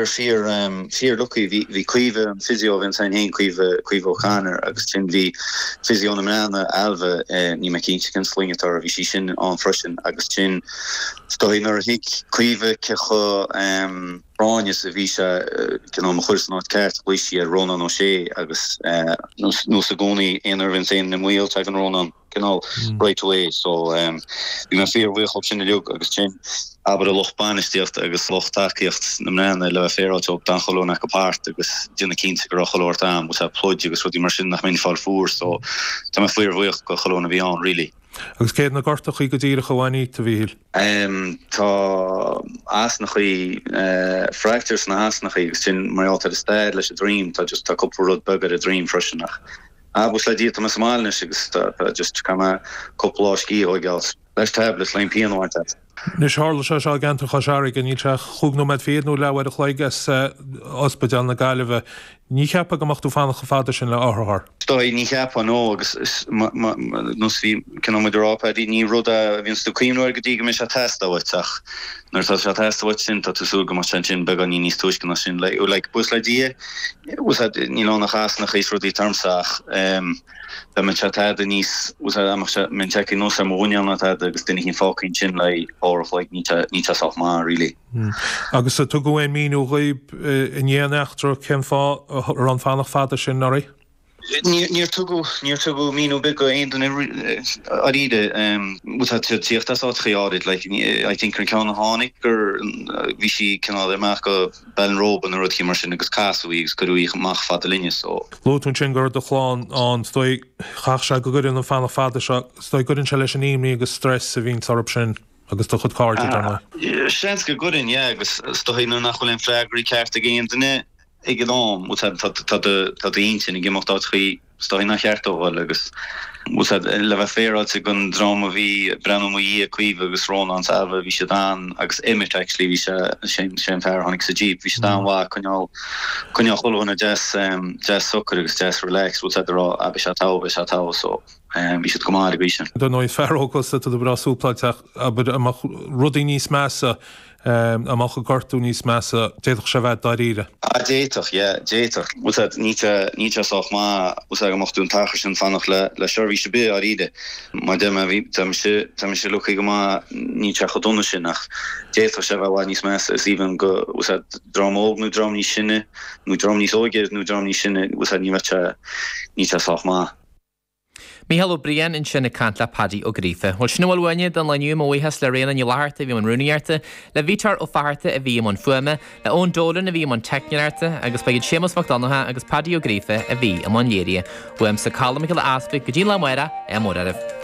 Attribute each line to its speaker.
Speaker 1: Fíor, fíor lucky. Bhí, bhí Caoimhe, an physio a bhí ansin féin, Caoimhe, Caoimhe O'Connor agus ansin bhí physio na mBreathnaigh, Ailbhe, níl mé cinnte cén sloinne atá uirthi, bhí sí sin ann freisin agus ansin is dóigh nuair a thuig Caoimhe cé chomh práinneach is a bhí sé, cineál mo chur san áit ceart, ghlaoigh sí ar Rónán Ó Sé agus nós i gcónaí aon uair a bhíonn éinne i mbaol tagann Rónán. cineál right away so bhí mé fíor-bhuíoch dhóibh sin uilig agus sin abair an lucht bainistíochta agus lucht tacaíocht na mBreathnaigh le bheith féaráilte dhóibh d'fhan chuile dhuine acu thart agus déanamh cinnte go raibh chuile shórt am agus pluid agus rudaí mar sin nach mbeinn ag fáil fuar so tá mé fíor-bhuíoch go chuile dhuine a bhí ann really.
Speaker 2: Agus céard na gortachaí go díreach a bhain dhíot, a Mhíchíl?
Speaker 1: Tá asnachaí, fractures sna hasnachaí agus sin mar gheall ar an stad leis an droim, tá just tá cúpla rud beag ar an droim freisin ach Ah, buíochas le Dia, tá mé sa mbaile anois agus tá, tá just, caithfidh mé cúpla lá scíth a thóigeáil leis tablets le an pian a bhaint as.
Speaker 2: Anois, tharla sé seo i gceantar Chois Fharraige, níl sé ach chúig nóiméad fichead nó leathuair a chloig as Ospidéal na Gaillimhe. Ní cheapfá go mbeadh tú fanacht chomh fada sin le otharcharr.
Speaker 1: Is dóigh, ní cheapfá, no, agus is, nós bhí, cineál muid a rá, Paddy, ní rud é a bhíonns tú ag cuimhniú air go dtí go mbeidh sé ag teastáil uait ach nuair atá sé ag teastáil uait sin, tá tú ag súil go mbeadh sé ansin beagáinín níos túisce ná sin. Like, like, buíochas le Dia, Níl ann ach easnacha is rudaí atá ormsa ach dá mbeadh sé tada níos, dá mbeadh sé, mbeinn tagtha anuas ar mo mhuineál nó tada agus duine éicint fágtha ansin le uair a chloig, níl sé, níl sé sách maith really.
Speaker 2: Agus ar tugadh aon míniú dhaoib i ndiaidh an eachtra cén fáth a raibh an fanacht fada sin oraibh?
Speaker 1: Níor tugadh, níor tugadh míniú ar bith go aon duine dáiríre. Bhuel tá tú ag tíocht as áiteachaí áirid, like, I think an ceann a tháinig gur, bhí sí cineál ar imeacht go Ballinrobe nó rud éicint mar sin agus casadh í agus cuireadh í amach fada linne so.
Speaker 2: Luaigh tú ansin go raibh do chlann ann, is dóigh, chaithfeadh sé go gcuireann an fanacht fada seo, is dóigh, gcuireann sé leis an imní agus stress a bhíonns orthu sin agus do chuid cairde, dar
Speaker 1: ndóigh. Seans go gcuireann, yeah, agus is dóigh nuair nach bhfuil aon freagraí ceart ag aon duine, ag an am, bhuel tá tá d'intinn ag imeacht áiteachaí is dóigh nár cheart dó dhul agus bhuel le bheith féaráilte don dream a bhí ag breathnú i mo dhiaidh, Caoimhe agus Rónán 's Ailbhe, bhí siad an, agus Emmet actually, bhí sé, sé sé an fear a tháinig sa Jeep, bhí siad an-mhaith ag coinneáil, coinneáil chuile dhuine deas, deas socair agus deas relaxed, bhuel ag rá ah beidh sé togha, beidh sé togha so bhí siad go maith ar an gcaoi sin.
Speaker 2: Dar ndóigh is fear óg thusa, tá tú breá súpláilte ach abair dá mbeadh rudaí níos measa Dá mbeadh an gortú níos measa, d'fhéadfadh sé a bheith dáiríre.
Speaker 1: Ah, d'fhéadfadh, yeah, d'fhéadfadh. Bhuel, tá, níl sé, níl sé sách maith, bhuel, tá, go mbeadh tú an t-achar sin fanacht le, le seirbhís ar bith, dáiríre. Mar deir mé, bhí, tá mise, tá mise lucky go maith, níl sé chomh dona sin ach d'fhéadfadh sé a bheith i bhfad níos measa is even go, bhuel, tá, dream óg nó dream níos sine, nó dream níos óige nó dream níos sine, bhuel, tá, ní bheadh sé, níl sé sách maith.
Speaker 3: Mícheál Ó Briain ansin ag caint le Paddy Ó Gríofa. Bhuel, sin a bhfuil uainne don lá inniu. Mo bhuíochas le Ríona Ní Fhlatharta a bhí i mbun rúnaíochta, le Víteár Ó Fatharta a bhí i mbun fuaime, le Eoin Dolan a bhí i mbun teicneoireachta agus ba iad Séamus Mac Donncha agus Paddy Ó Gríofa a bhí i mbun léirithe. Uaimse Colm Mac Giolla Easpaig go dtí an lá amárach, ádh mór oraibh.